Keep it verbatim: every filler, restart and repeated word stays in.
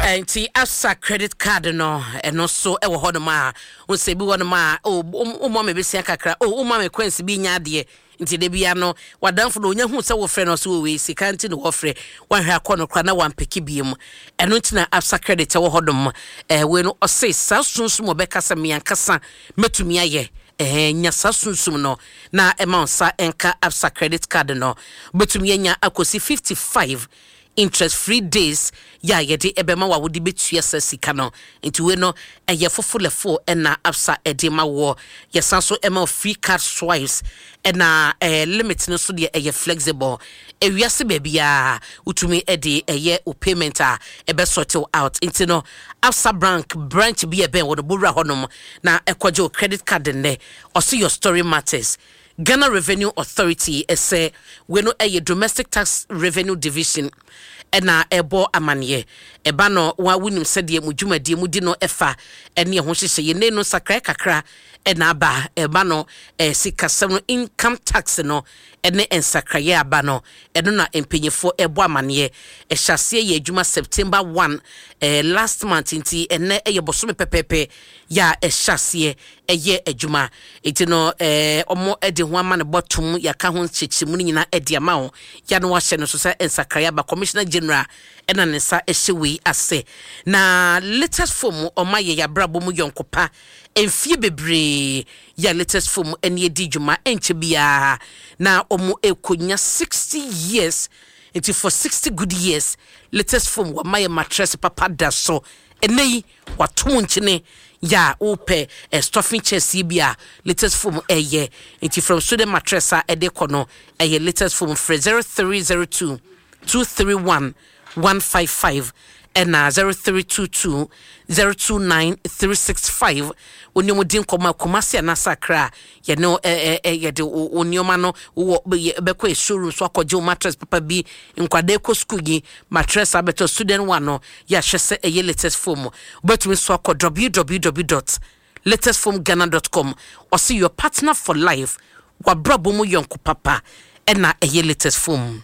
Nti Absa credit card no, ɛno nso ɛwɔ hɔnom a wosɛ bi hɔnom a woma me bɛsia kakra o, woma me coins bi nya adeɛ. Nti da bia no wadamfo no onya hu sɛ wofrɛ no so wɔ wei sika nti ne wɔfrɛ wahwɛ akɔ no kora na wampɛki bie mu. Ɛno nti na Absa credit ɛwɔ hɔnom. Ɛɛ wei no ɔse saa sunsum ɔbɛka sɛ meankasa mɛtumi ayɛ ɛɛ nya saa sunsum no na ɛma wo nsa ɛnka Absa credit card no. Wobɛtumi anya akɔsi fifty-five interest free days yɛ a yɛde ɛbɛma wa wode bɛtua sa sika no. Nti wei no ɛyɛ fofolɛfo ɛna Absa ɛde ma wɔ. Yɛsan so ɛma wo free card swipes, ɛna ɛɛ limit no nso deɛ ɛyɛ flexible. Ewiase baabiara wotumi ɛde ɛyɛ o payment a ɛbɛ sort out. Nti no Absa Bank branch bi ɛbɛn wɔ no, bowura hɔnom na ɛkɔgye o credit card nnɛ. Ɔsi your story matters. Ghana Revenue Authority ɛsɛ wei no ɛyɛ Domestic Tax Revenue Division ɛna ɛbɔ amanneɛ. Ɛba no wa wonim sɛdeɛ mo dwumadie mu di no ɛfa ɛne ɛho hyehyɛ yɛn no nsakrae kakra ɛna aba. Ɛba no ɛɛ sikasɛm no, income tax no ɛne nsakraeɛ aba no, ɛno na mpanyinfoɔ ɛbɔ amanneɛ. Ɛhyɛ aseɛ yɛ adwuma September one ɛɛ last month, nti ɛnɛ ɛyɛ bɔsɔme pɛpɛɛpɛ yɛ a ɛhyɛ aseɛ ɛyɛ adwuma. Nti no ɛɛ ɔmo ɛde ho ama ne bɔtom yɛaka ho nkyekyɛmu no nyinaa ɛde ama wo ya no wahyɛ no so sɛ nsakraeɛ aba. Commissioner General ɛna ne nsa ɛhyɛ wei ase. Na Latest Foam ɔma yɛ yɛabrabɔ mu yɔnkopa mfie bebree yɛ. Latest Foam ɛne adi dwuma ɛnkyɛ biara na ɔmo ɛkɔnya sixty years. Nti for sixty good years Latest Foam wɔma yɛ mattress papa da so. Ɛnɛ yi wato nkyene yɛ a wopɛ eh, stuffing chairs yi bi a Latest Foam ɛyɛ. Nti from student mattress a ɛde kɔ no ɛyɛ Latest Foam. Frɛ zero three zero two two three one one five five ɛna zero three two two zero two nine three six five. Wo ne di nkɔmmɔ a Kumase anaasɛ Akra a yɛne ɛ ɛ yɛde wo nneɛma no wɔ bɛkɔ yɛ showroom so akɔgye wo mattress papa bi. Nkwadaa kɔ school yi, mattress abɛtɔ student one no, yɛahwɛ sɛ ɛyɛ Latest Foam. Wobɛtumi so akɔ w w w dot latestfoamghana dot com. Ɔse your partner for life, wabrabɔ mu yɔnko papa ɛna ɛyɛ Latest Foam.